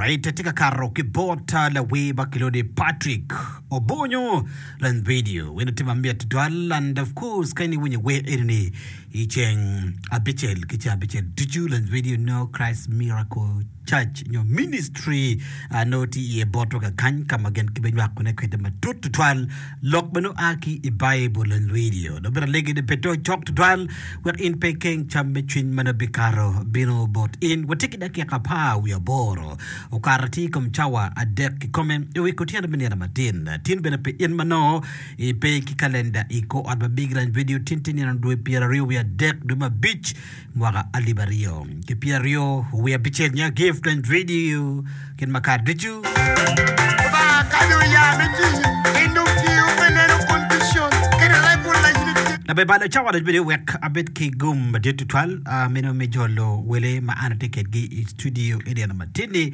Alright, atye ka kato ki bot lawer ma kilwongo ni Patrick Obonyo lany video. Wene tye mamit tutwal and of course ka in iwinyo wer eni-ni i ceng abicel ki ceng abicel ducu lany video no Christ Miracle Church nyo Ministry nongo tye iye botwa kakany ka ma gin gibinywakone kwede matut tutwal lok ma nongo a ki i Baibul lany radio. Dong bene alegi ni bed dong cok tutwal wek in pe ikeng cam me cwiny ma nongo bikato bino bot in. Watye ki dakika apar wiye aboro okato atir i kom cawa adek kikome i wi kutyeno me nino matin. Tin bene pi in ma nongo ipe ki kalenda i kor ot ma Big Ranch Radio tin tye nino dwe pyeraryo wiye adek dwe me abic mwaka alip aryo ki pyeraryo wiye abicel nya Gift and Video kit ma kare ducu. Lubanga kadi oya me tiyo, en dong tiyo me neno condition kede regular unity. Labe balo cawa dong bene wek abed ki gum madit tutwal ah, meno me jolo wele ma an atye kedgi i studio i nino matin-ni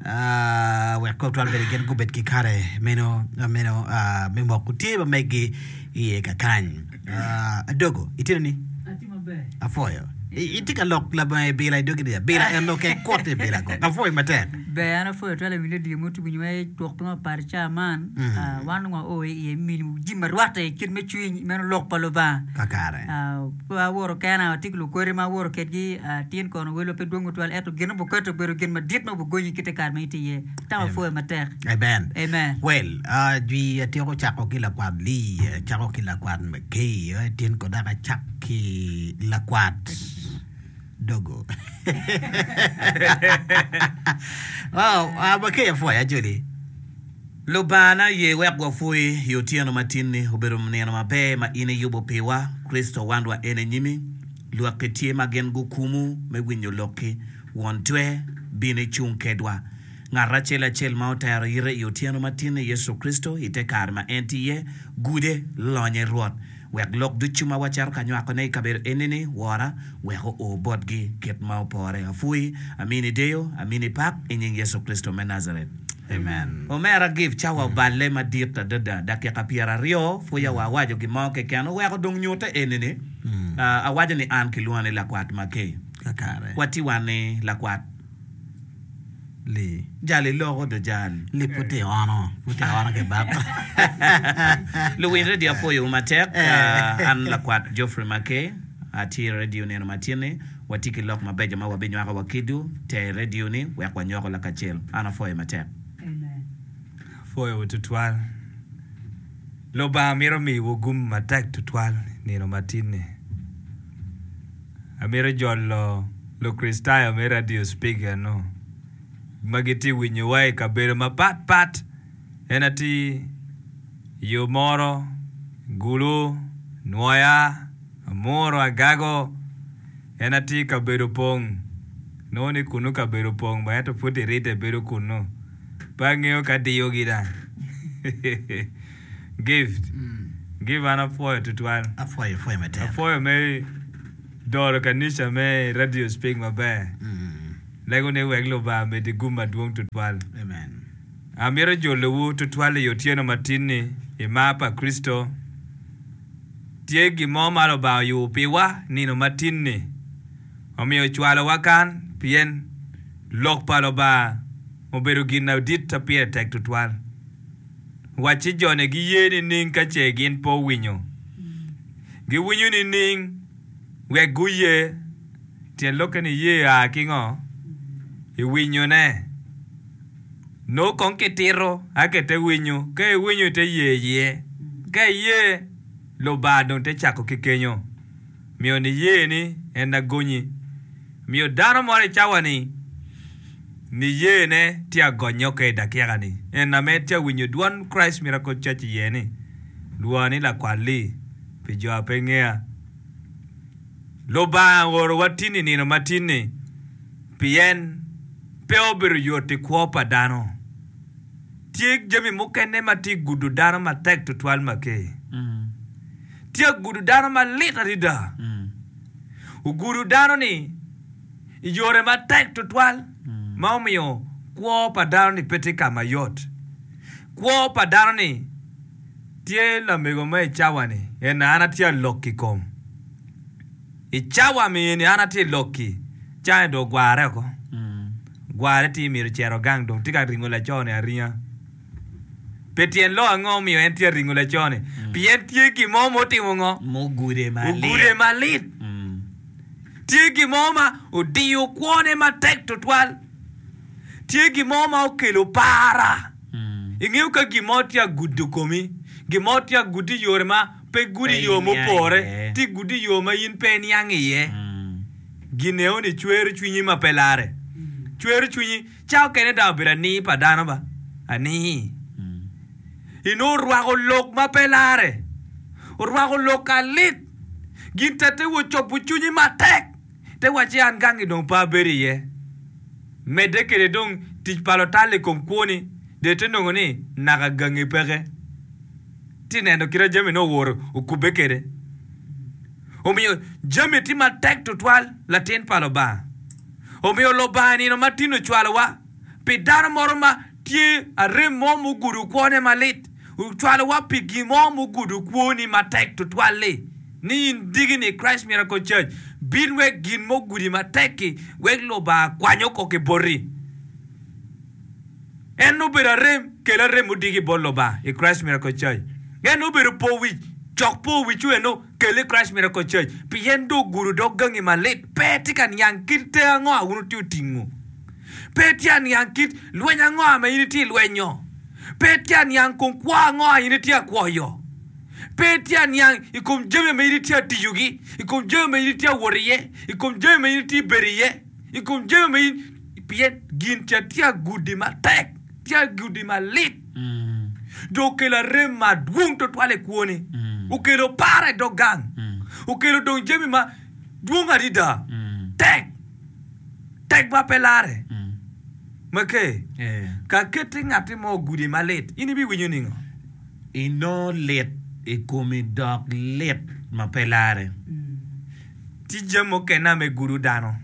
ah, wek kong twal bene gin gubed ki kare meno meno ah, me moko tye ma megi iye kakany. Adogo, itye ni? Atye maber. Apwoyo. Itye ka lok labongo ibila i dogi ni abila en lok kekot ibila ko. Apwoyo matek. Ber an apwoyo twal awinyo radio mo tugo nyo twok piny apar ca man mm. wan dong wao iye mini jami ma rwatte i kit me cwiny meno lok pa Lubanga. Kakare. Pe awoto kena atye ki lukwedi ma awoto kedgi tin kono welwa pe dwong tutwal ento gin ma obuketo obedo gin madit ma obugonyi kite kare ma itye iye. Tam apwoyo matek. Amen. Amen. Well, uh, jwi atyeko cako ki lakwat Lee, acako ki lakwat McKay, eh, tin ko dok acak ki lakwat Dogo. wow, uh, McKay apwoyo ajoli. Lubangana ye wek wapwoyi i otyeno ma tin-ni obedo nino maber ma in iyubo piwa. Kricito wanwa en i nyimi. Lwakki tye ma gin gukumu me winyo lokki. Won Twer, bin icung kedwa. Ngat acel acel ma otero ite i otyeno ma tinne Yecu Kricito i te kare ma en tye iye, gude, lonye Rwot. Wek lok ducu ma wacito ka nywakone i kabedo eni-ni, Wora, wek oo botgi kit ma opore. Apwoyi, amini deyo, amini pak, i nying Yecu Kricito me Najaret. Amen. Omera Gift, cawa oballe madit adada, dakika pyeraryo, pwoya wa awaco gin mo keken, oweko dong nyute eni-ni, awaco ni an kilwonga ni Lakwat Makey. Kakare. Wati wan ni Lakwat. Li. Jal iloko do jal. Li pud tye ono, pud tye ono ki bab. Luwiny radio apwoyowu matek. An lakwat Geoffrey Makey, atye i radio nino matin-ni. Watye ki lok mabeco ma wabinywako wa kidwu. Ter radio ni wek wanywako lakacel. An apwoyo matek. Apwoyowu tutwal. Lubanga mito miyowu gum matek tutwal nino matin-ni. Amito jolo Lukricitayo me Radio Speak eno ma gitye winyowa i kabedo mapat pat. En atir i yo moro, Gulu, Nwoya, Amuru, Agago. En atir kabedo opong. Nongo ni kunu kabedo opong ba ento pud iride bedo kunu. Pe angeyo ka diyogi dang. Gift. Give an apwoyo tutwal. Apwoyo pwoyo matek. Apwoyo me doro kanica me Radio Speak maber. Lego ni wek Lubanga medi gum madwong tutwal. Amen. Amito jolowu tutwal i otyeno matin-ni i mar pa Kricito. Tye gin mo ma Lubanga oyubo piwa nino matin-ni. Omiyo ocwalowa kan pien Lok pa Lubanga obedo gin madit ma pire tek tutwal. Wacci jone giye nining ka ce gin pe owinyo? Giwinyo nining wek guye? Tyen lokke ni ye a ki ngo? I winyone. Nongo kong kitito aka ite winyo. Ka iwinyo ite ye iye. Ka iye, Lubanga dong te cako ki kenyo. Miyo niye ni en agonyi. Miyo dano moro i cawa-ni niyene tye agonye oke i dakika-ni. En ame tye awinyo dwon Christ Miracle Church iye ni, Lwonga ni lakwal-li pi jo a pe ngeya. Lubanga oorowa tin i nino matin-ni pien pe obedo yot i kwo pa dano. Tye jami mukene ma tye gudo dano matek tutwal make. Tye gudo dano malit adada. Ogudo dano-ni i yore matek tutwal ma omiyo kwo pa dano-ni pe tye ka mayot. Kwo pa dano-ni tye lamego mo i cawa-ni en an atye alok i kom. I cawa mini an atye lok-ki, cange dong ogwarre oko. Gware tye myero ocito gang dong tye ka ringo laco-ni aringa. Pi tyen lok ango omiyo en tye ka ringo laco-ni? Pien tye gin mo ma otimo ngo? Mugude malit. Ogude malit. Tye gin mo ma odiyo kwone matek tutwal. Tye gin mo ma okelo para. Ingeyo ka gin mo tye ka gudo komi, gin mo tye ka gudi i yore ma pe gudi i yo mupore, tye gudi i yo ma in pe iniang iye. Gin eno-ni cwero cwinyi ma pe larre. Cwero cwinyi. Ca okene dong obedo anii pa dano ba? Anii. Inongo orwako lok ma pe larre. Orwako lok alit. Gin tete wa ocobo cwinyi matek. Te wacci an gangi dong pe abedo iye. Medde kwede dong tic pa lutal i kom kwoni dong ite nongo ni naka gangi peke. Ti neno kit ma jami nongo oworo okubbe kwede. Omiyo jami tye matek tutwal latin pa Lubanga. Omiyo Lubanga i nino matin ocwalowa pi dano moro ma tye arem mo mugudo kwone malit, ocwalowa pi gin mo mugudo kwoni matek tutwal-li, ni in diki-ni i Christ Miracle Church, bin wek gin mugudi matek-ki wek Lubanga kwany oko ki boti. En obedo arem, kel arem odiki bot Lubanga i Christ Miracle Church. En obedo po wic, cok po wiccu eno, kel i Christ Miracle Church. Pien dong ogudo dog gangi malit, pe tye ka niang kit te ango a wun wutye otingo. Pe tye aniang kit lweny ango ma in itye lwenyo. Pe tye aniang kom kwo ango a in itye akwoyo. Pe tye aniang i kom jami ma in itye atiyogi, i kom jami ma in itye awot iye, i kom jami ma in itye bedo iye, i kom jami ma in Pien gin ca tye agudi matek, tye agudi malit, dong okelo arem madwong twatwal i kwoni, okelo par i dog gang, okelo dong jami ma dwong adada, tek, tek ma pe larre. Make, ka keti ngatti mo ogudi malit, in ibiwinyo ningo? Inongo lit i komi dok lit ma pe larre. Tye jami mukene me gudo dano.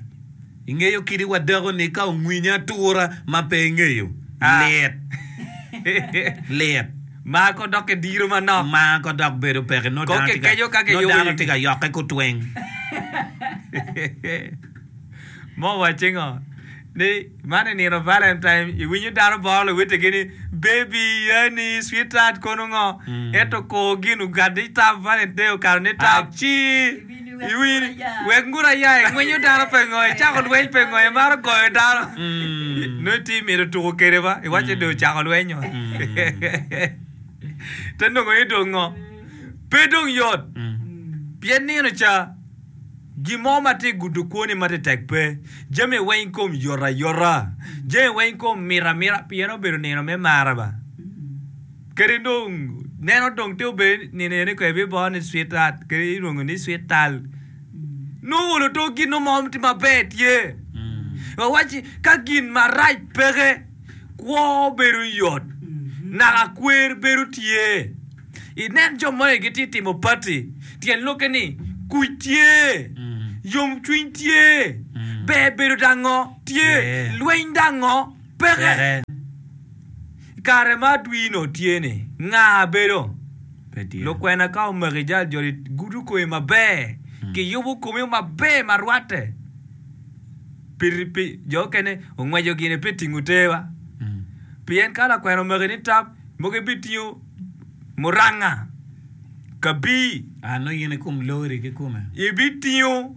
Ingeyo kadi wa dako-ni ka ongwinyi atura ma pe ingeyo, lit. Lit. Mako dok ki diro manok. Mako dok bedo peke. Nongo Kong dano tye ka, kikeco ka nongo kiyubo dano i tye ka yokke kutweng. Mo wacci ngo? Ni man i nino Valentine iwinyo dano boro luwotegi ni baby, honey, sweetheart kono ngo? Ento kor gin ogat ni tap Valentine okato ni tap ci iwinyo wek ngut aya ingwinyo dano pe ngo icako lweny pe ngo imaro goyo dano nongo itye imito tuko kwede ba iwaco ni dong ocako lwenyo te nongo ni dong ngo pe dong yot pien nino ca Gin mo ma tye gudo kwoni ma tye tek pe. Jami weng kom yot ayota. Jami weng kom mit amita pien obedo nino me mara ba. Kadi dong neno dong tye obedo nino eni ko ibiboo ni sweetheart kadi ilwongo ni sweet tal. Nongo olo to gin mo tye maber tye. Wawacci ka gin marac peke kwo bedo yot naka kwer bedo tye. Inen jo moni gitye timo pati, tyen lokke ni kuc tye, yomcwiny tye, ber bedo dango tye, lweny dango peke. I kare ma adwino tye-ni, nga bedo? Lukwena ka omaki jal joli gudo komi maber, kiyubo komi maber ma rwatte. Pi jo okene ongweco gine pi tingo terwa. Pien ka lakwena omaki ni tap, mogo ibitingo muranga, kabii. A nongo in i kom lori kikome. Ibitingo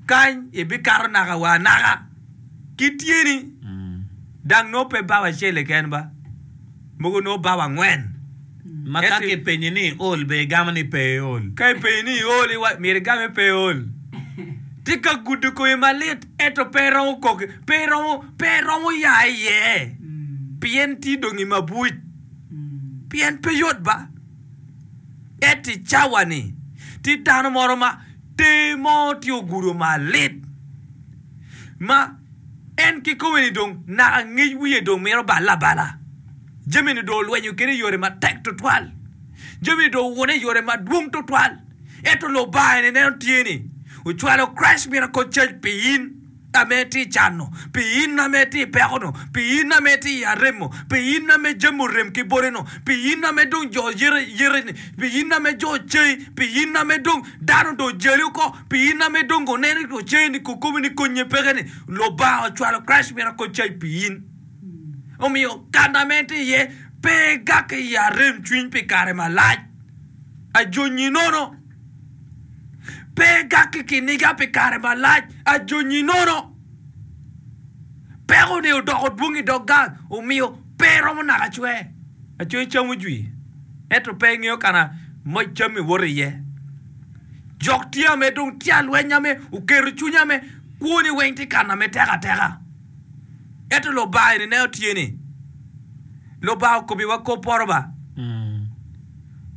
kany, ibikato naka wa anaka ki tyeni. Dang nongo pe bao acel keken ba, mogo nongo bao angwen. Ma ka kipenyi ni iol, be igamo ni pe iol? Ka ipenyi ni iol, myero igam ni pe iol. Tye ka gudo komi malit, ento pe iromo kok, pe iromo, pe iromo ya iye, pien tye dong i mabuc. Pien pe yot ba. Ento i cawa-ni, tye dano moro ma ter mo tye ogudo malit, ma en kikome-ni dong naka ngec wiye dong mito balle abala. Jami-ni dong olwenyo kwede i yore matek tutwal. Jami-ni dong owune i yore madwong tutwal. Ento Lubanga-ni neno tye ni ocwalo Christ Miracle Church pi in. ame itye i can-nu, pi in ame itye i peko-nu, pi in ame itye i arem-mu, pi in ame jami orem ki boti-nu, pi in ame dong jo yeti-ni, pi in ame jo ceyi, pi in ame dong dano dong ojali oko, pi in ame dong guneni oceyi ni kokomi ni konye peke-ni, Lubanga ocwalo Christ Miracle Church pi in. Omiyo kan ame itye iye, pe igakke i arem cwiny pi kare malac. Ajonyi nono. Pe igak ki kiniga pi kare malac, ajonyi nono. Peko-ni odoko dwong i dog gang, omiyo pe iromo naka cwer. Acwer cam ojwi, ento pe ingeyo ka ma moc cammi woto iye. Jok tye ame dong tye alweny ame oketo cwiny ame kwoni weng tye kana me tek ateka. Ento Lubanga eni neno tye ni, Lubanga okobiwa kop poto ba.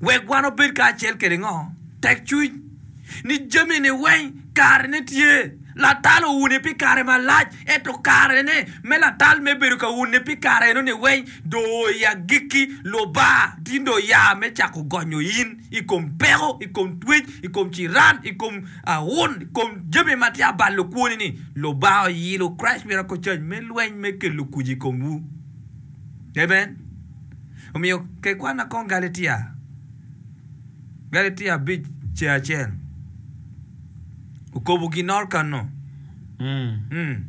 Wek wan obed kacel kwede ngo? Tekcwiny. Ni jami-ni weng karene tye. Latal oune pi kare malac, ento karene me latal me bedo ka une pi kare eno-ni weng dong oo i agikki. Lubanga tin dong oya me cako gonyo in i kom peko, i kom twec, i kom ciran, i kom aun, i kom jami ma tye abalo kwoni-ni. Lubanga oyilo Christ Miracle Church me lweny me kelo kuc i komwu. Amen. Omiyo ke kwanna kong Galatia, Galatia abic ceng acel. Okobo ginor kano. Mm.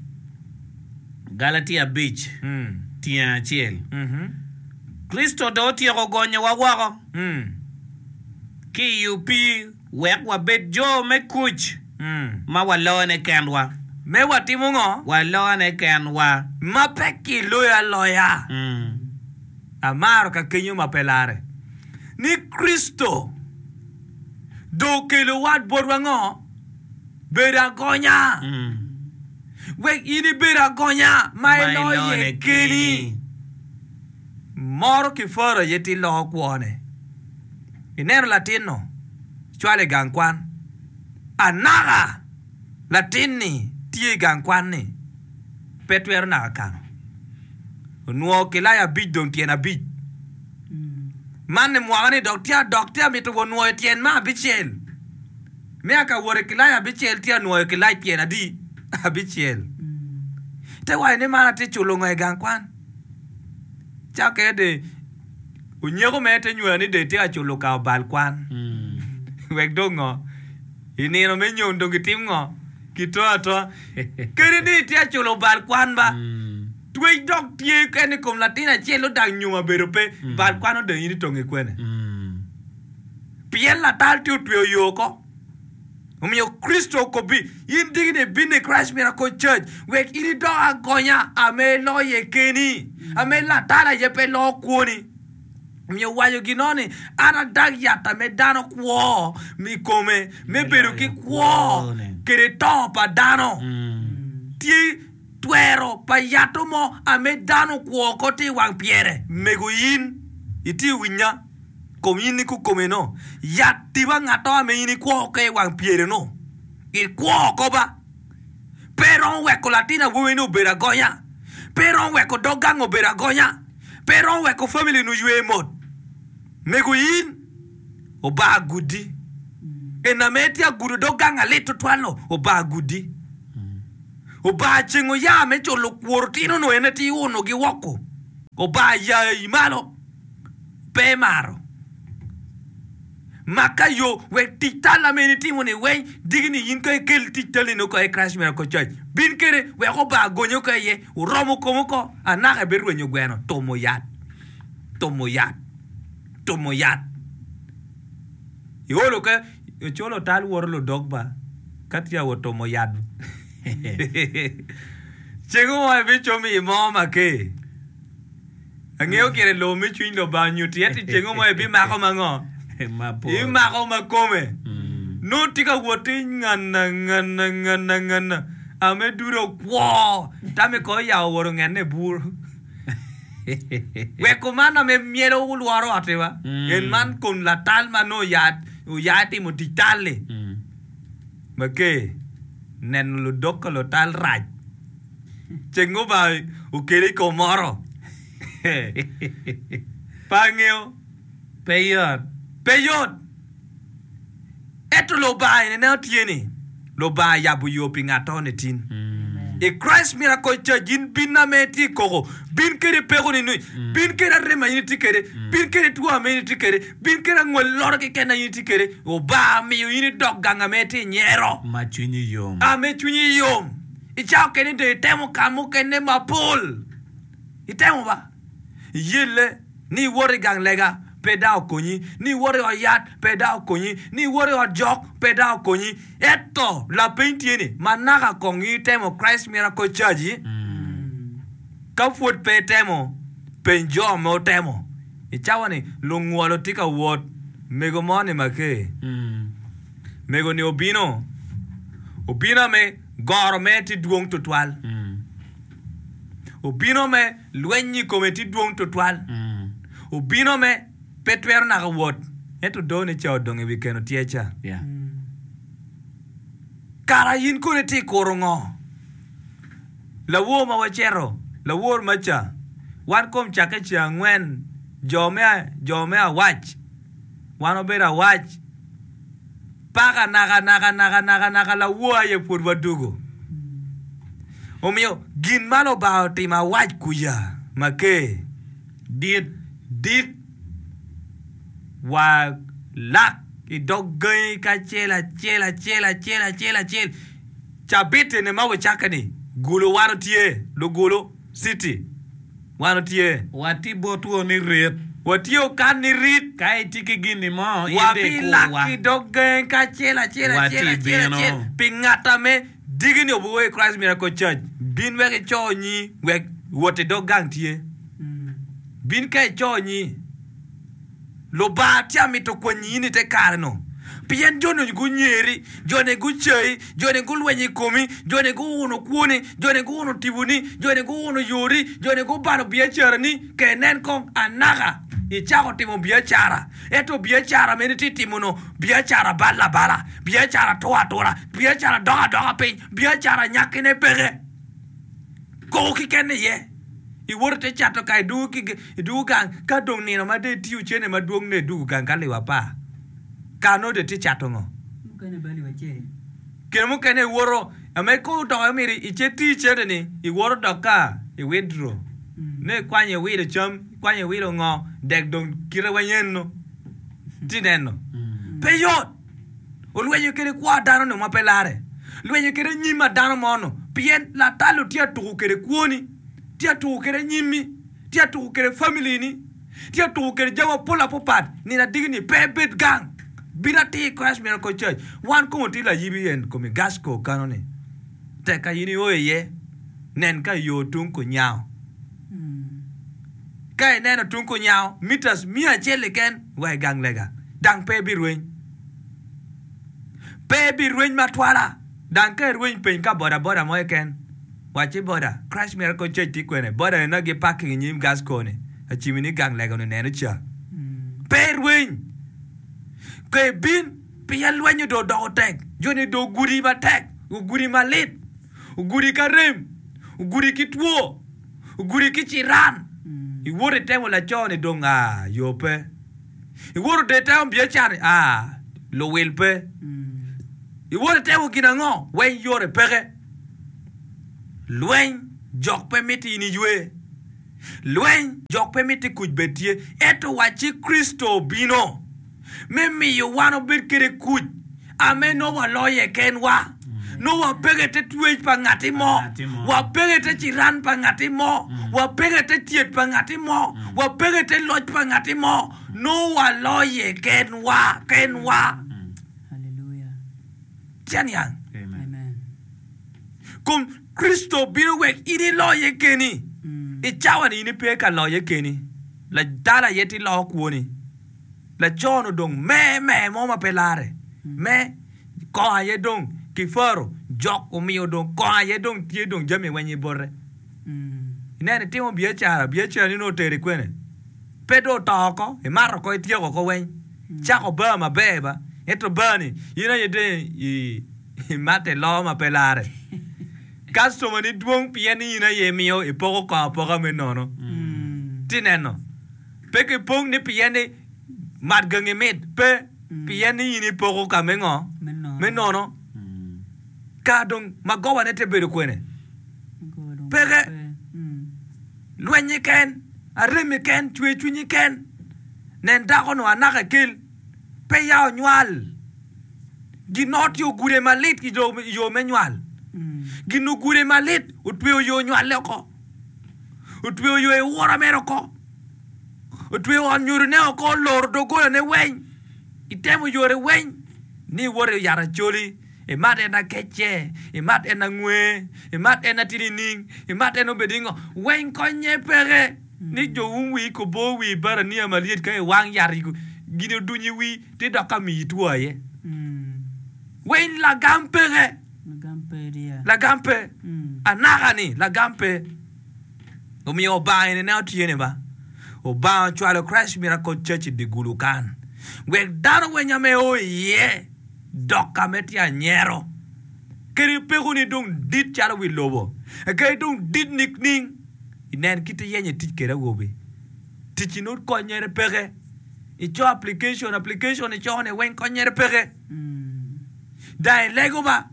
Galatia abic Mm. tyeng acel. Mhm. Kricito dong otyeko gonyowa woko Mm. ki i opii Wek wabed jo me kuc ma walone kenwa. Me watimo ngo? Walone kenwa. Ma pe kiloyo aloya. Amaro ka kenyo ma pe larre. Ni Kricito dong okelo wat botwa ngo? Bedo agonya. Wek in ibed agonya ma iloye keni. Moro ki Farao aye tye loko kwone. Ineno latin-nu? Cwale i gang kwan. Anaka latin-ni tye i gang kwan-ni, pe twero naka kano. Onwongo kilaya abic dong tyen abic. Man-ni mwaka-ni dok tye adok tye amito wa nwoyo tyen me abicel. Me aka wot i kilaya abicel tye anwoyo kilac tyen adi? Abicel. Te waco ni man atye culo ngo i gang kwan? Cakke de onyeko mere te nywero ni de tye ka culo ka obal kwan. Wek dong ngo? I nino me nyom dong gitim ngo? Kito atoa. Kadi ni itye ka culo obal kwan ba, twec dok tye kene i kom latin acel odak nyom abedo pe, bal kwan odong in itonge kwene? Pien latal tye otweyo yo oko. Omiyo Kricito okobbi, In diki-ni ibino i Christ Miracle Church wek in idok agonya ame iloye keni, ame latal aye pe loo kwoni. Omiyo owaco gino ni, An adag yat ame dano kwo i kome me bedo ki kwo kede to pa dano. Tye twero pa yato mo ame dano okwo oko tye i wang pyere. Mego in itye winya. Kom in ni kukome no, yat tiba ngatto ame in ikwo oko i wang pyere no, ikwo oko ba. Pe iromo weko latin awobi ni obedo agonya, pe iromo weko dog gang obedo agonya, pe iromo weko family ni oywe mot. Mego in obar gudi. En ame itye agudo dog gang alit tutwal no, obar gudi. Obar ceng oya me culo kwor otino no en aye tye unogi woko. Obar yayi malo. pe imaro. Mak ka yo wek tic tal ame in itimo ni weny diki ni in ka ikel tic tali ni oko i Christ Miracle Church. Bin kede wek obar gonye oko iye, oromo kome oko, anaka ibirwenyo gweno, tumo yat, tumo yat, tumo yat. Iolo ka ocolo tal woto ludog ba ka tye awot tumo yat. Ceng mo ibicomo i mo make. Angeyo gire lobo me cwiny Lubanga onyutti ento i cengo mo ibimako ma ngo? Ibimako ma kome. Nongo tye ka wot ti ngana ngana ngana ngana ame dude okwo tame ko oyawo owoto ngenne i bur. Wek kuman ame myelo olworo otti wa. En man kom latal ma nongo oya oya timo tic tal-li. Make neno ludok ka lutal rac. Ceng Lubanga okeli i kom moro, pe angeyo. Pe yot. Pe yot. Ento Lubanga eni neno tye ni Lubanga yabo yo pi ngat-to ni tin. I Christ Miracle Church in bin ame itye i koko, bin kede peko ni ni, bin kede arem a in itye kede, bin kede two ame in itye kede, bin kede angwel loro keken a in itye kede, Obanga miyo in idok gang ame itye i nyero. Ma cwinyi yom. Ame cwinyi yom. I cawa kene dong itemo ka mukene mapol. Itemo ba? Iyelle ni iwoto i gang lega, pe dang okonyi, ni iwoto i ot yat, pe dang okonyi, ni iwoto i ot jok, pe dang okonyi. Ento lapeny tye ni, ma naka kong itemo Christ Miracle Church-ci? Ka pwod pe itemo, peny jo ma otemo. I cawa-ni, lungwolo tye ka wot. Mego mo ni make. Mego-ni obino, obino me goro mere tye dwong tutwal. Obino me lweny i kome tye dwong tutwal. Obino me pe twero naka wot, ento done ca odong i wi keno tyer ca. Kara in kono itye ka kuro ngo? Lawor ma wacito, lawor maca, wan kom cakke ceng angwen, jo me, jo me awac, wan wabedo awac, paka naka naka naka naka naka lawor aye pwod wadugo. Omiyo gin ma Lubanga otimo awac kuca maker dit dit wa lak i dog gangi kacel acel acel acel acel acel. Cabit eni ma wucakke-ni, Gulu wan otye, Lugulu City wan otye. Watye botwu ni rit. Watye okan ni rit. Ka itye ki gin-ni mo, in dong Wabilak ikurwa. i dog gangi kacel acel Watye acel acel bino. acel pi ngat ame diki-ni obiwo i Christ Miracle Church. Bin wek ico nyi wek wot i dog gang tye. Bin ka ico nyi. Lubanga tye amito kwanyi in i te kare-nu, pien jo-ni gunyeri, jo-ni gucayi, jo-ni gulwenyo i komi, jo-ni guuno kwoni, jo-ni guuno tiponi, jo-ni guuno yori, jo-ni gubalo biacarani. Ka inen kong anaka icako timo biacara, ento biacara meno itye timo-nu biacara bal abala, biacara tur atura, biacara dok adoka piny, biacara nyakkine peke. Koko keken iye. Iwoto ite cato ka idwogo gang, ka dong nino ma dong itiyo cene madwong nongo idwogo gang ka liwa apar, ka nongo dong itye cato ngo? Kine mukene iwoto ame ka odoko aye myero icit iti cene ni iwoto dok ka i withdraw nongo ikwanyo iwilo cam, ikwanyo iwilo ngo dek dong kite weng eno iti neno pe yot. Olwenyo kede kwo a dano-nu ma pe larre, lwenyo kede anyim a dano mo-nu, pien latal-lu tye atuko kede kwoni, tye atuko kede anyimmi, tye atuko kede famili-ni, tye atuko kede jami mapol apapat. Nino adiki-ni pe ibed gang, bin atir i Christ Miracle Church. Wan kong watye layibi en komi Gasco kano-ni, tek ka in io iye, nen ka iyo tung kunyango. Ka ineno tung kunyango, meters miya acel keken wa i gang lega, dang pe ibirweny. Pe ibirweny matwala. Dang ka irweny peny ka boda boda mo keken, wac ci boda, Christ Miracle Church tye kwene? Boda eni gi parking i nyim gas co ni, acimi ni gang lega ni neno ca. Pe irweny. Ka ibin, pien lwenyo dong odoko tek, joni dong ogudi matek, ogudi malit, ogudi ki arem, ogudi ki two, ogudi ki ciran. Iwoto itemo laco ni dong aa, yo pe. Iwoto dong itemo biacara ni aa, luwil pe. Iwoto itemo gin ango? Weng yore peke. Lweny jok pe miti in iywe. Lweny jok pe miti kuc bed tye. Ento wacci Kricito obino me miyo wan obed kede kuc ame nongo waloye kenwa. Nongo wapeke te twec pa ngati mo, wapeke te ciran pa ngati mo, wapeke te tyet pa ngati mo, wapeke te loc pa ngati mo. Nongo waloye kenwa kenwa. Tye aniang? Kom Kricito obino wek in iloye keni. I cawa-ni in ipe ka loye keni. Ladala aye tye loko kwoni. Laco-nu dong me me mo ma pe larre. Me kongo aye dong kifaro jok omiyo dong kongo aye dong tye dong jami weng i bote. Ineno itimo biacara, biacarani nongo oteri kwene? Pe dong oto oko, imato oko ityeko oko weng. Cako bar maber ba, ento bar-ni in aye dong imato iloo ma pe larre. Kactomani dwong pien ni in aye imiyo ipoko kongo apoka me nono. Ti neno. Pe kipong ni pien ni mat gangi mit, pe, pien ni in ipoko ka me ngo? Me nono. Ka dong magoba ne te bedo kwene? Peke. Lweny ken, arem ken, cwer cwinyi ken. Nen dako-nu anaka kel, pe ya onywal. Gin-no tye ogude malit i yo me nywal. Gin ogude malit otweyo yo nywalle oko, otweyo yo iwura mere oko, otweyo ot nyodone oko, oloro dogolane weng, itemo yore weng ni iwot i yat acholi, imat en akecce, imat en angwe, imat en atye nining, imat en obed ningo, weng konye peke ni jo um wii kobo wii barania malyet ka iwang yat gin odunyo i wii. Ti dok ka miyi two aye. Winy lagam peke. Lagam pe. Anaka ni lagam pe. Omiyo Obanga eni ne otye ni ba. Obanga ocwalo Christ Miracle Church i dye gulu kan. Wek dano weng ame o iye dok ka me tye anyero. Kadi peko ni dong dit calo wi lobo. Kadi dong dit nikning. Inen kit iyenyo itic kede awobi. Ticci nongo konyere peke. Ico application, application ico ni weng konyere peke. Dang ilego ba,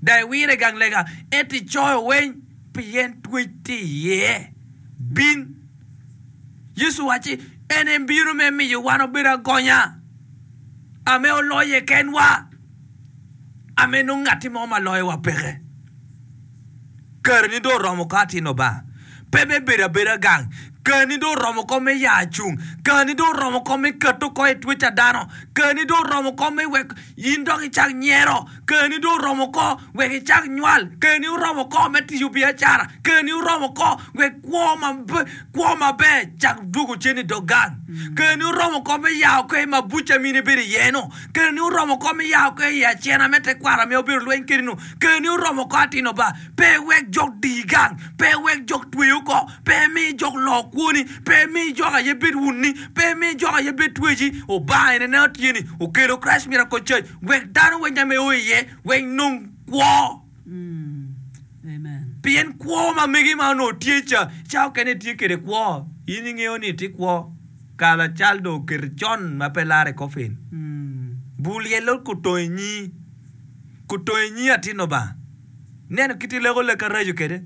dang iwire i gang lega, ento icoyo weng pien twec tye iye. Bin. Yecu owacci, En ebino me miyo wan obed agonya, ame oloye kenwa, ame nongo ngatti mo ma loyowa peke. Kareni dong oromo ko atin Lubanga, pe me bedo abeda gang. Kareni dong oromo ko me ya cung. Kareni dong oromo ko me keto oko i twec a dano. Kareni dong oromo ko me wek in dok icak nyero. Kareni dong oromo ko wek icak nywal. Kareni oromo ko me tiyo biacara. Kareni oromo ko wek kwo ma kwo maber cak dwogo cen i dog gang. Kareni oromo ko me ya oko i mabuc ma in ibedo iye-nu. Kareni oromo ko me ya oko i acena me tekwaro ma wubedo lweny kwede-nu. Keni oromo oko atino ba, pe iwek jok diyi gang, pe iwek jok tweyi oko, pe imi jok loo kwoni, pe imi jok aye bed wunni, pe imi jok aye bed tweci. Obanga ene neno tye ni okelo Christ Miracle Church wek dano weng ame o iye wek nong kwo. Pien kwo ma megi ma onongo tye ca, ca okene itye kede kwo, in ingeyo ni itye kwo, kala cal dong oketi con ma pe lare i coffin. Bur lyel okotongo inyi. Kutongo i nyi atin Lubanga. Ineno kit ileko lek araco kwede?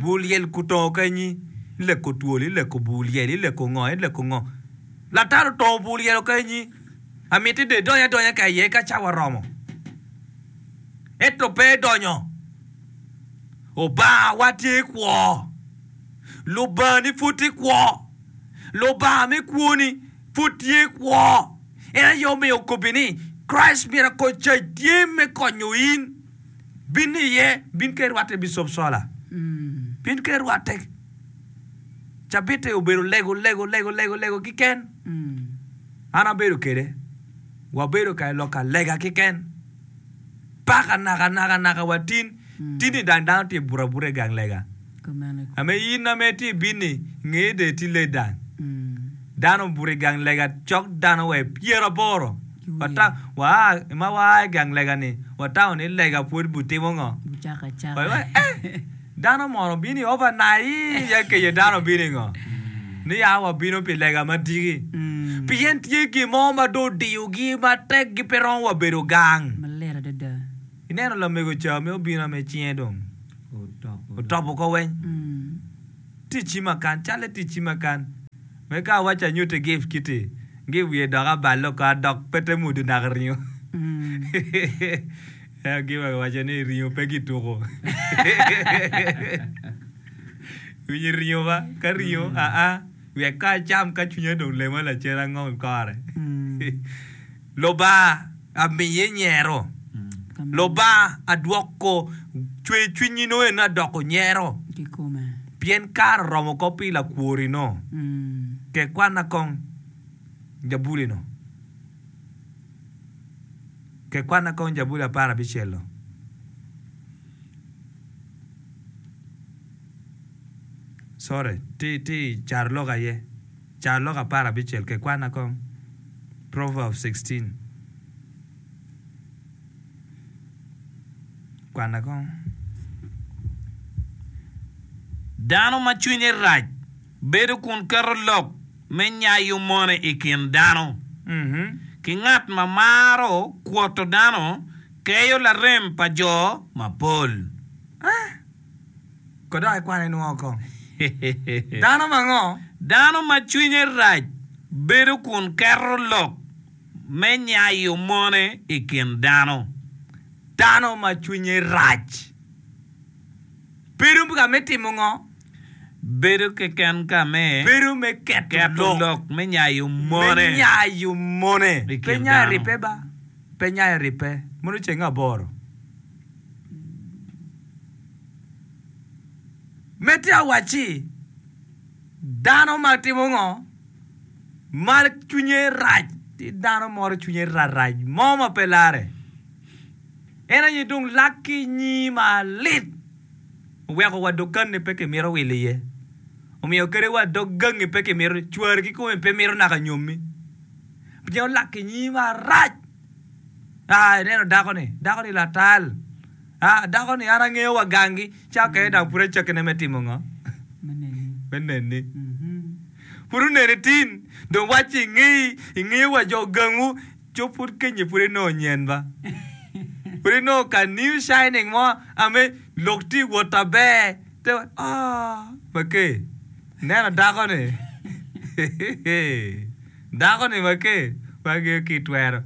Bur lyel kutongo ka inyi, ileko twol, ileko bur lyel, ileko ngo, ileko ngo. Latat otongo bur lyel ka inyi. Amiti dong idony adonya ka iye ka cawa oromo. Ento pe idonyo. Obangawa tye kwo. Lubangani pud tye kwo. Lubanga me kwoni pud tye kwo. En aye omiyo okobbi ni, Christ Miracle Church tye me konyo in. Bin iye, bin ka irwatte Bicop Sola. Bin ka irwatte. Cabit-te obedo lego, lego, lego, lego, lego kiken. An abedo kede. Wabedo ka lok alega kiken. Paka naka, naka, naka wa tin. Tin-ni dang dano tye buto abuta i gang lega. Ame in ame itye ibin-ni, nge dong itye late dang. Dano obuto i gang lega cok dano wa i pyeraboro. Waa ma waa i gang lega-ni, watamo ni lega pwod butimo ngo? Eh! Dano mono obino i overnight ya kenyo dano obino i ngo? Ni ya wabino pi lega madiki. Pien tye gin mo ma dong odiyogi matek gi pe romo wa bedo gang. Ineno lamego ca me obino ame cinge dong otopo oko weng. Tye i cima kan, calle tye i cima kan. Me ka awacci anyutti gift kiti, gift wiye dok aballe oko adok pe te mudo naka ringo. Ento gift owaco ni ringo pe kituko. Winyo ringo ba, ka ringo aa, wek ka acam ka cwinya dong lema lacen angom kore. Lubanga amiye nyero. Lubanga adwoko cwercwinyi nongo en adoko nyero. Pien kare oromo oko pi lakwor-ri-nu. Ke kwanna kong jabuli-nu. Ke kwanna kong jabuli aparabicel-lu. Sorry, ti ti carolok aye. Carolok aparabicel ke kwanna kong. Proverbs 16. Kwanna kong. Dano ma cwinye rac bedo kun keto lok me nyayo mone i kin dano, ki ngat ma maro kwoto dano keyo larem pa jo mapol. Ko dok ikwane inwongo kong. Dano ma ngo? Dano ma cwinye rac bedo kun keto lok me nyayo mone i kin dano. Dano ma cwinye rac bedo ka me timo ngo? Bedo keken ka me. Bedo me keto lok me nyayo mone. Me nyayo mone. I Pe kin nyayo dano. ribbe ba. Pe nyayo ribbe. Mono ceng aboro. Medde awacci, dano ma timo ngo? Ma cwinye rac. Tye dano moro cwinye rarac mo ma pe lare. En aye dong lak ki nyi malit oweko wa dukanni pe kimito wilo iye. Omiyo kadi wa dog gangi pe kimito, cwari kikome pe mito naka nyommi. Pien olak ki nyi marac. Aa, ineno dako-ni? Dako-ni latal. Aa, dako-ni an angeyo wa gangi. Ca okene dok pud acakkine me timo ngo? Me neni. Pud oneni tin, dong wacci ingeyi, ingeyo wa jo gangwu, co pud kenyi pud inongo nyen ba. Pud inongo ka new shining mo ame lok tye wot aber. Te wa, oh, make, ineno dako-ni? Dako-ni make, pe angeyo ki itwero.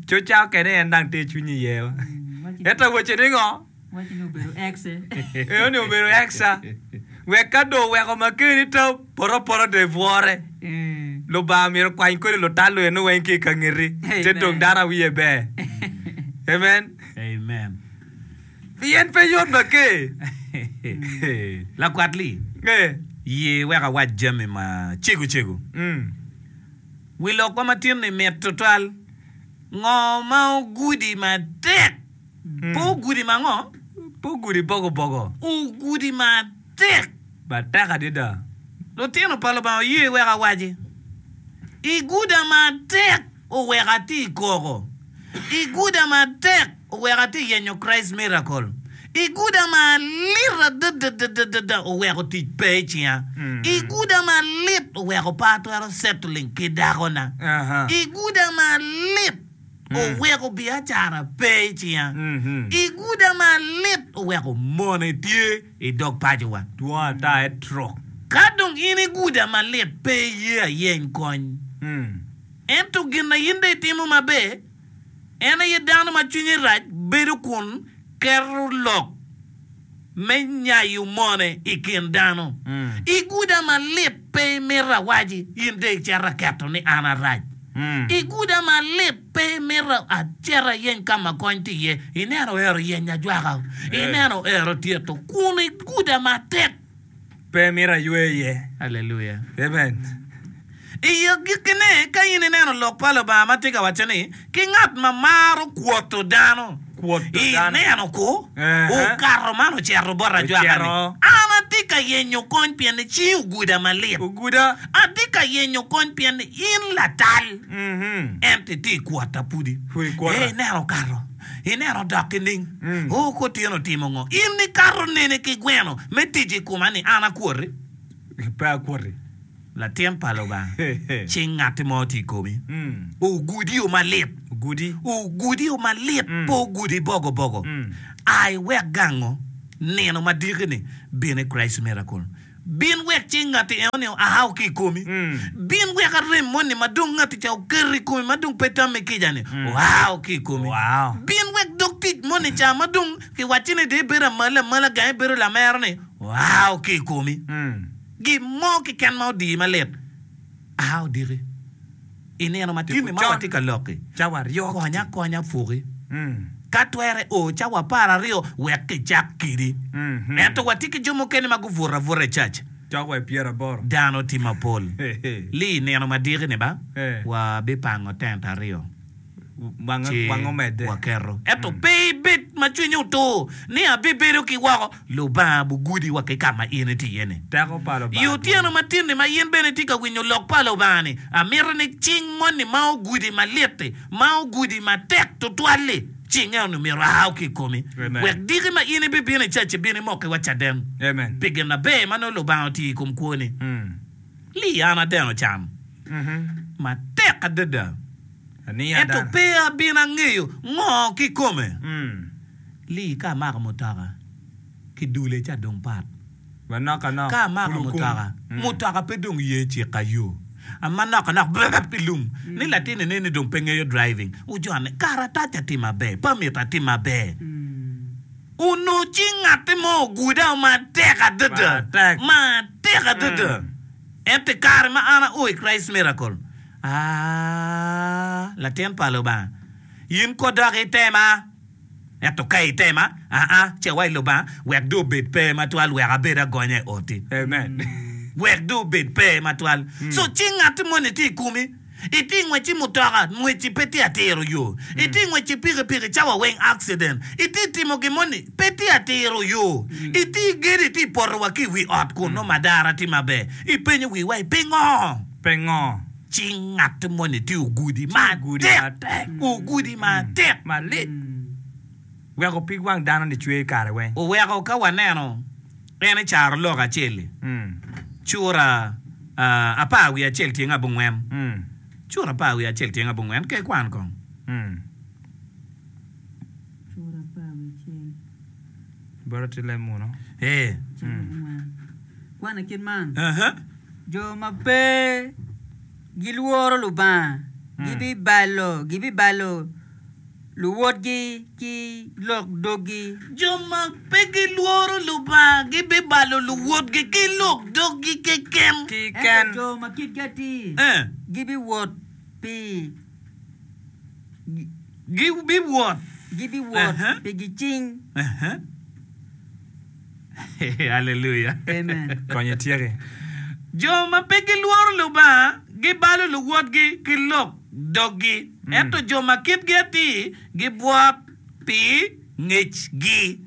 Co ca okene en dang tye cwiny iye wa. Ento wacce ni ngo? Wacce ni obedo ex. Eno ni obedo ex-a. Wek ka dong oweko makeni ta poto apota dong ibwore. Lubanga myero okwany kodi lutal eno weng ki i ka ngeti. Te dong dano a wiye ber. Amen. Amen. Pien pe yot make. Lakwat Lee, ye wek awac jami ma cego cego. Wi lokwa ma tin-ni mit tutwal. Ngo ma ogudi matek? Pe ogudi ma ngo? Pe ogudi bogo bogo. Ogudi matek. Matek adada. Lutino pa Lubanga oye wek awaci, Iguda matek oweko atye i koko. Iguda matek oweko atye i yenyo Christ Miracle. Iguda malit adadadadada oweko tic pe i cinga. Iguda malit oweko pe atwero settling ki dakona. Iguda malit oweko biacara pe i cinga. Iguda malit oweko mone tye i dog pacowa. Dwong ata etrok. Ka dong in iguda malit pe iye ayeny kony. Ento gin na in dong itimo maber En aye dano ma cwinye rac bedo kun keto lok me nyayo mone i kin dano. Iguda malit pe imito awaci in dong icito aketo ni an arac. Iguda malit pe imito acit ayeny ka ma kony tye iye. Ineno ero yenyo ajwaka, ineno ero tyeto kun iguda matek. Pe mito aywe iye. Aleluya. Amen. I agikkine, ka in ineno Lok pa Lubanga ma tye ka wacce ni, Ki ngat ma maro kwoto dano, Kwoto dano. ineno ku, Ehe. okato man ocito bot ajwaka-ni, Ocito. An atye ka yenyo kony pien ni cingi oguda malit. Oguda. Atye ka yenyo kony pien ni in latal, Mhm. ento itye i kwota pudi. Pud ikwota. Ee, ineno okato. Ineno odok nining? Oo, kotyeno otimo ngo? In ikato nene ki gweno me tic i koma ni an akwoti? Pe akwoti. Latin pa Lubanga, cing ngatti mo tye i komi. Ogudio malit. Ogudi. Ogudio malit, pe ogudi bogo bogo. A iwek gango nino ma diki-ni, bin i Christ Miracle. Bin wek cing ngatti enoni oa ki i komi. Bin wek arem moni ma dong ngatti ca oketo i komi ma dong pe tamme kica-ni oa ki i komi. Bin wek dog tic moni ca ma dong kiwacci ni dong ibedo amalo amala gang ibedo lamero-ni oa ki i komi. Gin mo keken ma odiyi malit a odiki i nino ma tinni ma watye ka lok-ki, konya akonya puki. Ka twere o cawa apararyo wek kicak kidi. Ento watye ki jo mukene ma gubuto abuta i cac. Dano tye mapol. Li i nino ma diki-ni ba, wabipango tent aryo. ci waketo. Ento pe ibed ma cwinyi otur ni abibedo ki woko. Lubanga bugudi wa ki ka ma in itye iye-ni. I otyeno matin-ni ma in bene itye ka winyo lok pa Lubanga-ni, amito ni cing moni ma ogudi malit-ti, ma ogudi matek tutwal-li, cinge onongo myero oa ki i komi, wek diki ma in ibibino i cac ibin imokiwa caden pi gin maber ma nongo Lubanga otiyo i kom kwoni. Li an adeno can matek adada, ento pe abino angeyo ngo kikome. Li ka amako mutoka. Ki dule ca dong pat. Manok anok, Ka amako kulu kum. mutoka, mutoka pe dong ye cika yo. Manok anok brrrp i lum ni latin ene ni dong pe ngeyo driving. Ojone, karatac atim maber, permit atim maber. Onongo ci ngatti mo oguda matek adada, Matek. matek adada. Ento i kare ma an ao i Christ Miracle, aa, latin pa Lubanga, in ko dok itema. Ento ka itema, aa, ci awac Lubanga, wek dong obed pe matwal, wek abed agonya i oti. Amen. Wek dong obed pe matwal. So ci ngatti moni tye i komi, itye i ngwec ki mutoka, ngwecci pe tye atiro yo. Itye i ngwec ki pikipiki, cawa weng accident. Itye i timo gin moni, pe tye atiro yo. Itye i gedo, itye i poto wa ki i wi ot kun nongo madara tye maber. Ipenyo wiwa ni, Pingo? Pingo? Ci ngat moni tye ogudi matek, ogudi matek. Malit. Weko pig wang dano-ni cwer kare weng. Oweko ka waneno en i carolok acel-li, cura apar wiye acel tyeng abongwen, cura apar wiye acel tyeng abongwen, ka ikwan kong. Cura apar wiye acel. Bota tye leb muno. Ee. Kwan i kit man, Jo ma pe gilworo Lubanga gibibalo gibibalo luwotgi ki lok doggi. Jo ma pe gilworo Lubanga gibibalo luwotgi ki lok doggi keken. Ento jo ma kitgi atir gibiwot pi Gibiwot. Gibiwot pi gicing. Aleluya. Amen. Kony ityeki. Jo ma pe gilworo Lubanga gibalo luwotgi ki lok doggi, ento jo ma kitgi atir gibwot pi ngecgi.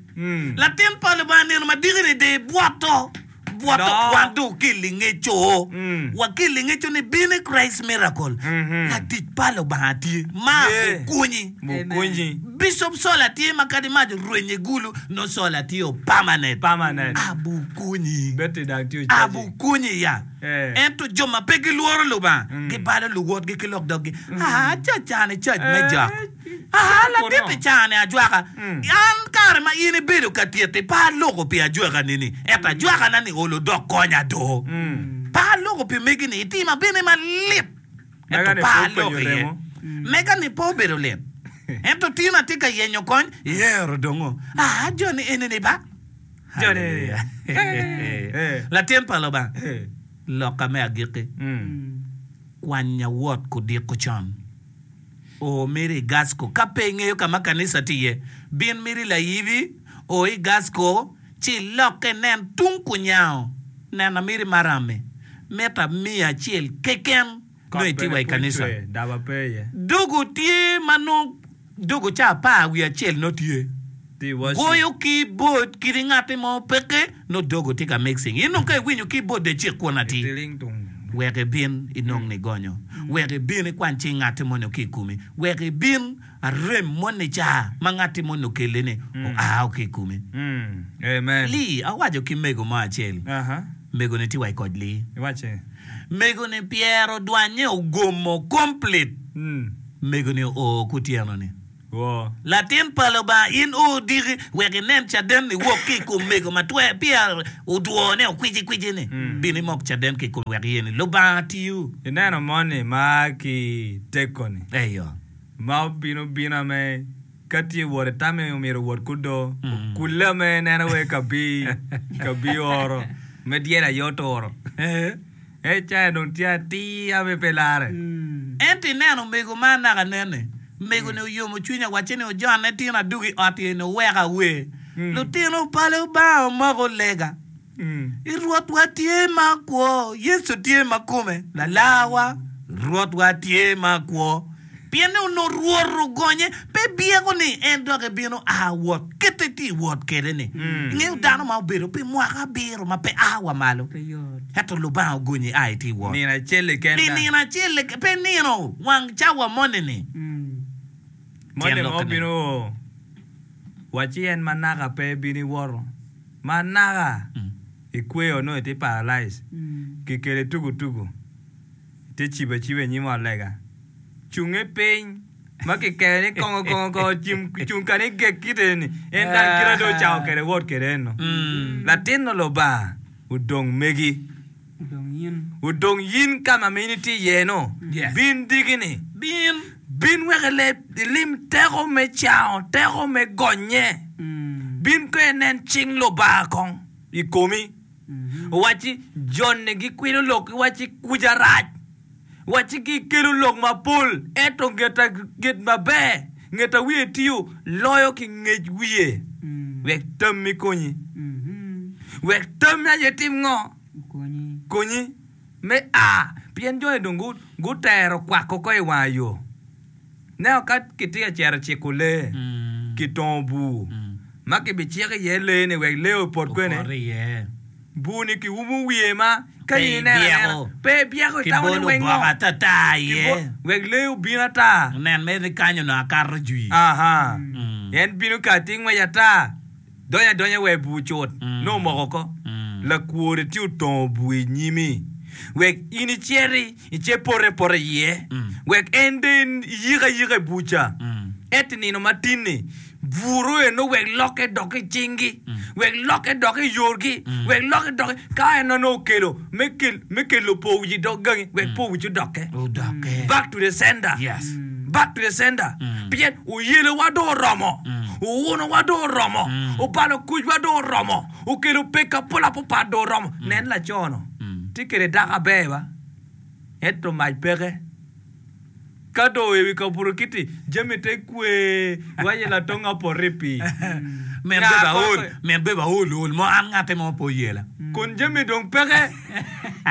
Latin pa Lubanga nino madiki-ni dong ibwoto, bwoto wan dong okelli ngeco, wakelli ngeco ni bin i Christ Miracle, latic pa Lubanga tye ma okonyi. Bishop Sola tye ma kadi mac orwenyo i gulu nongo Sola tye o permanent. Abukonyi, abukonyi ya. Ento jo ma pe gilworo Lubanga gibalo luwotgi ki lok doggi. Aa, cac cani cac me jok. Aa, ladit i caa-ni ajwaka. An kare ma in ibedo ka tyeti pe aloko pi ajwakani-ni, ento ajwakana-ni olo dok konya do. Pe aloko pi megi-ni, itima bene malit, ento pe aloko iye. Mega-ni pe obedo lit, ento tin atye ka yenyo kony, iyero dongo. Aa, joni eni-ni ba. Haleluya. Latin pa Lubanga, lokka me agikki, kwanya wot kudiko con. O meri i Gasco. Ka pe ingeyo ka ma kanisa tye iye, bin meri layibi, o i Gasco, ci ilokke inen tung kunyango. Nena meri maram-mi, mita miya acel keken nongo itye wa i kanisa. Dogo tye ma nongo dogo ca apar wiye acel nongo tye. Goyo keyboard kadi ngatti mo peke nongo dogo tye ka mixing. In dong ka iwinyo keyboard dong icik kun atir. Wek ibin inong nigonyo. Wek ibin ikwany cing ngatti moni ki i komi. Wek ibin arem moni ca ma ngatti moni okelli-ni oa ki i komi. Lee, awaco ki mego mo acel, mego-ni tye wa i koc Lee. Mego-ni pyero odwanye ogomo complete. Mego-ni oo kutyeno-ni. Latin pa Lubanga, in o diki wek inen caden niwok ki i kom mego ma twer peya odwone okwicikwici-ni. Bin imok caden ki i kome wek iye ni Lubanga tiyo. Ineno moni ma a ki Teko-ni, Eyo. ma obino bina me ka tye wot itame omyero owot kudo, okulle me eneno wai kabi kabi oro me dyel aye oturo. Ee, cawa dong tye atir ame pe larre. Ento ineno omego ma anaka nen-ni, mego-ni oyomo cwinya, wacce ni, Ojonne tin adwogo i ot eni owek awer. Lutino pa Lubanga omoko lega. I Rwotwa tye ma kwo, Yecu tye ma kome, Lalarwa, Rwotwa tye ma kwo. Pien ni onongo Rwot ogonye, pe byeko ni en dok ebino a wot kite tye i wot kwede-ni. Ingeyo dano ma obedo pi mwaka abiro ma pe a wa malo, ento Lubanga ogonye a itye i wot. Nino acel keken. Pi nino acel, pe nino wang cawa moni-ni. Moni ma obino o wacci en ma naka pe ebino iwoto, ma naka ikweyo nongo itye paralyze, kikeli tugutugu. Itye cibo aciba i nyim ot lega. Cunge piny. Ma kikeyo ni kongo kongo kongo cim cung kani gek kite ni en dang kite dong ocako kede wot kede eno. Latin no Lubanga odong megi. Odong yin. Odong yin ka ma in itye iye no. Yes. Bin diki ni. Bin. Bin wek ile ilim teko me cango, teko me gonye. Bin kong inen cing Lubanga kong i komi. Owacci joni gikwilo lok giwacci kuca rac. Wacci gikelo lok mapol, ento nget maber, nget a wiye tiyo loyo ki ngec wiye. Wek tammi konyi. Wek tammi aye tim ngo? Konyi me a. Pien joni dong gutero kwako oko i wanga yo. Neno ka kitye ka cito ciko lee, kitongo bur ma kibiciko iye lee-ni wek lee opot kwene. Bur-ni kiumo wiye ma ka in ineno anena pe ibyeko itamo ni weng ngo wek lee obin ata. En bino kati ngwec ata donyo adonya wa i bur cut nongo omoko oko. Lakwor-ri tye otongo bur i nyimi wek in iciti ice poto epota iye wek en dong iyik ayika i bur ca. Ento i nino matin-ni Buru eno wek lokke dok i cinggi, wek lokke dok i yorgi, wek lokke dok i. Ka en onongo okelo me kel, me kelo poo wic i dog gangi, wek poo wic odokke. Odokke. Back to the sender. Yes. Back to the sender. Pien oyelowa dong oromo, owunowa dong oromo, obalo kucwa dong oromo, okelo pek apol apapat dong oromo. Nen laco-nu, tye kwede dako aber ba, ento mac peke. Ka dong i wi kabuto kiti, jami te kwe, iwaco latonga opoto i pii. Min Nga bebe aol, koko- min bebe aol ol mo an ngate mo pe oyela. Kun jami dong peke,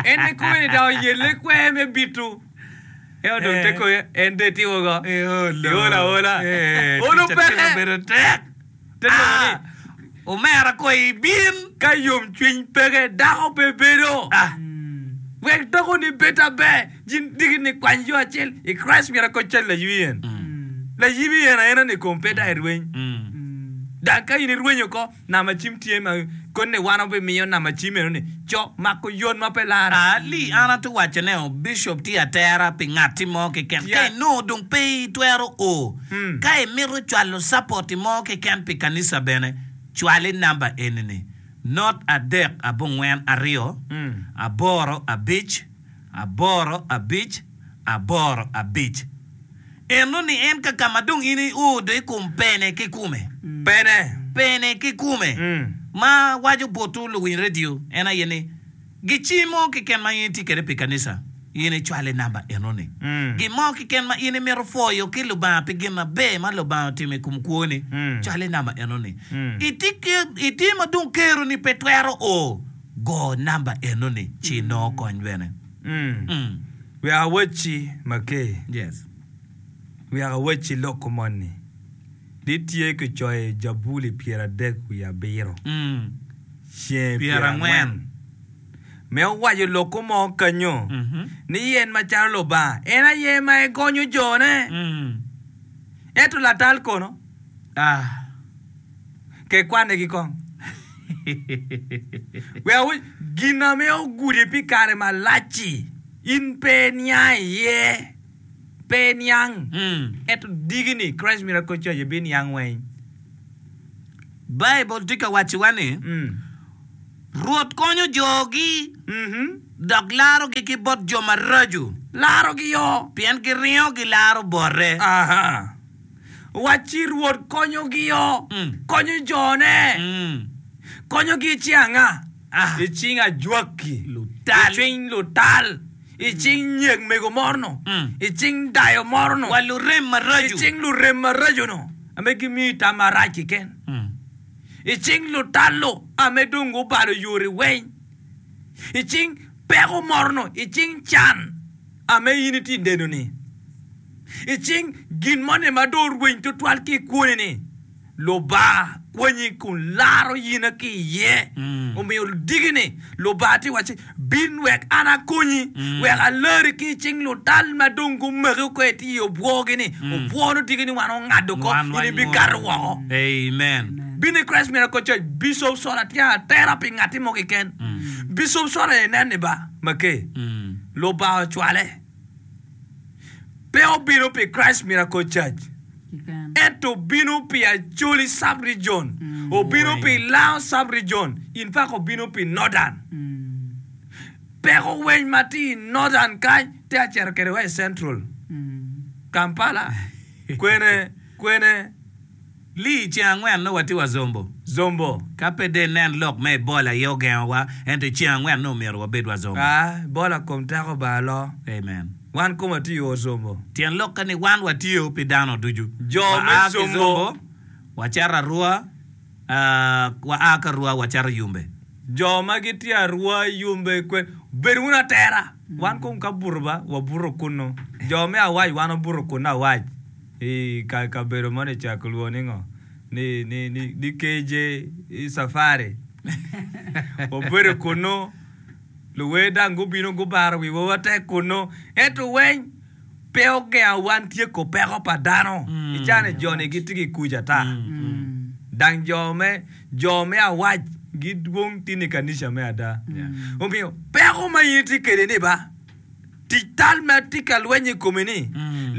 en kikome ni dok oyelle kwer me bito. Ento dong te kome en dong etimo go. Eolo. Eolo aola. Eh, Olo tic atima peke. bedo tek. Te nongo ni Ah, omera ko ibin. Ka yomcwiny peke, dako pe bedo. Ah. Wek dakoni bed aber, jin diki ni kwany yo acel i Christ myero ko cal laywi en. Layibi en aena ni kom pe dok irweny. Dok ka in irwenyo oko, namba cim tye ma koni wan wabimiyo namba cim eno ni co mako yot ma pe lare. Ali, an atye waco ne o, Bishop tye atera pi ngatti mo keken. Ka inongo dong pe itwero o, ka imito cwalo support mo keken pi kanisa bene, cwal i namba eni ni, not adek abongwen aryo, aboro abic, aboro abic, aboro abic. Eno ni en ka ka ma dong in io do i kom pene kikume. Pene. Pene kikume. Ma waco botwu luwiny radio en aye ni, Gicim mo keken ma in itye kwede pi kanisa, in icwal i namba eno-ni. Gin mo keken ma in imito pwoyo ki Lubanga pi gin maber ma Lubanga otimo i kom kwoni, cwal i namba eno-ni. Itye ma dong keroni pe twero o, go namba eno-ni ci inongo kony bene. Wek awacci Makee, Yes. wek awacci lok moni ni tye kicoyo i Jabuli 37 ceng 40 me owaco lokko mo kanyo ni en macalo Lubanga en aye ma egonyo jone. Ento latal kono? Ke kwanegi kong. Wek awac gin ame ogudi pi kare malac-ci, in pe iniang iye, pe iniang. Ento diki-ni Christ Miracle Church ibiniang weng. Baibul tye ka wacciwa ni, Rwot konyo jogi dok larogi ki bot jo maraco. Larogi yo. Pien giringo gilaro bote. Aha. Wacci Rwot konyogi yo, konyo jone. Konyogi i cing anga? I cing ajwaki, i cing lutal, i cing nyek mego moro-nu, i cing dayo moro-nu, Wa lurem maraco. i cing lurem maraco-nu ame gimiyi tam marac keken, i cing lutal-lu ame dong gubalo yori weng, i cing peko moro-nu, i cing can ame in itye i neno-ni, i cing gin moni ma dong orweny twatwal ki i kwoni-ni. Lubanga kwanyi kun laro yina ki iye. Omiyo diki-ni, Lubanga tye wacci, Bin wek an akonyi, wek alari ki i cing lutal ma dong gumaki oko itye i obwogi-ni. Obwo-nu diki-ni wan ongado oko, in ibikato woko. Amen. Bin i Christ Miracle Church, Bishop Sola tye atera pi ngatti mo keken. Bishop Sola inen ni ba, make, Lubanga ocwale. Pe obino pi Christ Miracle Church, ento obino pi Acholi Sub-Region, obino pi Lango Sub-Region, in fact obino pi Northern. Peko weny ma tye i Northern kany tye ka cito kwede wa i Central, Kampala, kwene, kwene. Lee, I ceng angwen nongo watye wa Zombo. Zombo. Ka pe dong inen lok me Ebola aye ogengowa, ento i ceng angwen nongo myero wabed wa Zombo. Aa, Ebola kom teko ba lo. Amen. Wan kom watye i Zombo. Tyen lokke ni wan watiyo pi dano ducu. Jo me Wa a ki Zombo. Zombo, wacito Arua, aa, wa a ki Arua wacito Yumbe. Jo ma gitye Arua, Yumbe, kwen, bed wunu atera. Wan kom ka buto ba, wabuto kunnu. Jo me Awac wan wabuto kunnu Awac. I kabedo moni ca kilwongo ni ngo? Ni, ni, ni, ni KJ Safari. Wabedo kunnu, luwer dang gubino gubaro wiwa matek kunnu. Ento weng pe ogengo wan tyeko peko pa dano. I caa-ni jo-ni gitye ki kuc ata. Dang jo me, jo me awac gidwong tin i kanica me ada. Omiyo peko ma in itye kwede ni ba, Tic tal ma tye ka lweny i komi ni,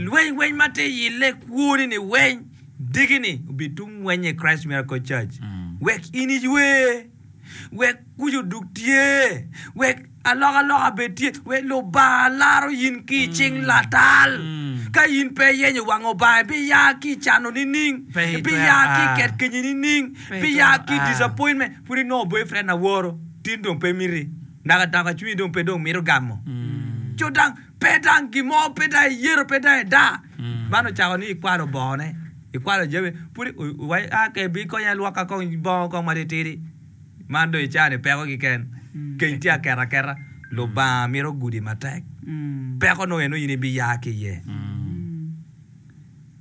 lweny weny ma tye ille kwoni ni weny diki ni obitum weny i Christ Miracle Church. Wek in iywe, wek kuc odug tye, wek alokaloka bed tye, wek Lubanga laro in ki i cing latal. Ka in pe iyenyo wang Obanga, ibiya ki i cano nining? Ibiya ki i ket kenyi nining? Ibiya ki i disappointment? Pud inongo boyfriend aworo, tin dong pe miti. Naka dako cwinyi dong pe dong mito gamo. Co dang pe dang gin mo pe dang iyeto pe dang ida. Man ocako ni ikwalo bongone, ikwalo jami pud iwaco a ke bi konya ilwoka kong bongo kong matitidi. Man dong ica ni peko kiken. Keny tye aketo aketa. Lubanga mito gudi matek. Peko nongo eno in ibiya ki iye.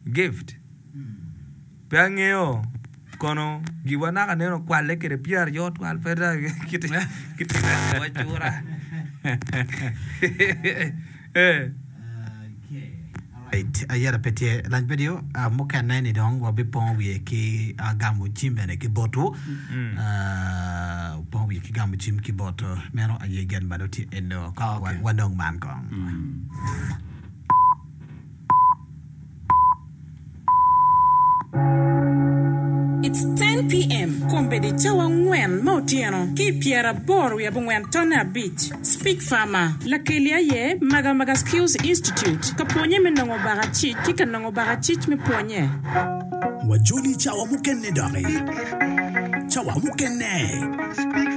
Gift. Pe angeyo kono giwa naka nen okwale kwede pyeraryo twal pe dong gitye ka neno cura. Ayera pe tye lac video mukene ni dong wabipongo wiye ki gamo cim bene ki botwu. Pongo wiye ki gamo cim ki bot meno aye gen ma dong tye eno kong wanong man kong. It's 10 PM, Kombeddi cawa angwen me otyeno ki i pyeraboro wiye abongwen tonne abic. Speak Farmer, Lakeli aye Maga Maga Skills Institute ka pwonye me nongo bakacic ki ka nongo bakacic me pwonye. Wajoli cawa mukene doki. Cawa mukene.